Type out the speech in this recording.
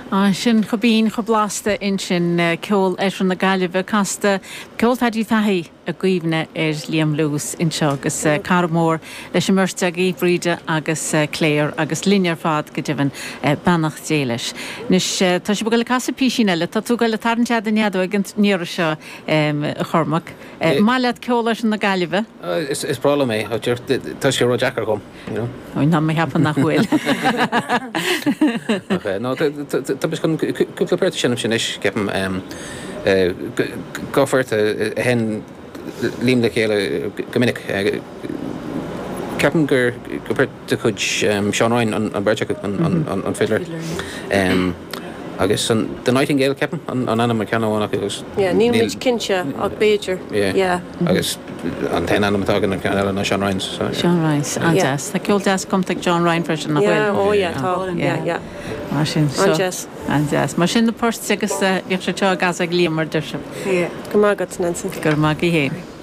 Ah, sin chomh binn, chomh blasta ansin, ceol Oirthear na Gaillimhe casta, ceol Phaddy Fahy i gcuimhne ar Liam Lewis anseo agus cara mór leis an mbeirt agaibh, Bríde agus Claire agus linn ar fad go deimhin, beannacht Dé leis. Anois, tá sibh ag dul ag casadh písín eile, tá tú ag dul ag tarraingt fhad an fheadóig an iarraidh seo, a Chormaic. Maith leat ceol Oirthear na Gaillimhe? Is breá liom é, tá sé ró-deacair dhom. Tá mé ag ceapadh nach bhfuil. Ach no, tá muid chun cúpla port a sheinm anois, ceapaim. Dá phort a sheinn Liam le chéile go minic. Ceapaim gur port de chuid Seán Ryan an bheirt acu, an fiddler. Agus an The Nightingale, ceapaim, an ainm ar ceann amháin acu agus. Yeah, níl muid cinnte ach b'fhéidir, yeah. Agus an t-aon ainm atá againn ar ceann eile ná Sean Ryan's. So, yeah. Sean Ryan's, an-deas. Tá ceol deas cumtha ag John Ryan freisin, nach bhfuil? Yeah, oh yeah, tá, yeah, yeah. Mar sin, so. An-deas. An-deas. Mar sin na poirt agus bhíodh siad seo á gcasadh ag Liam mar deir sibh. Yeah. Go raibh maith agat, Nancy. Go raibh maith agat féin.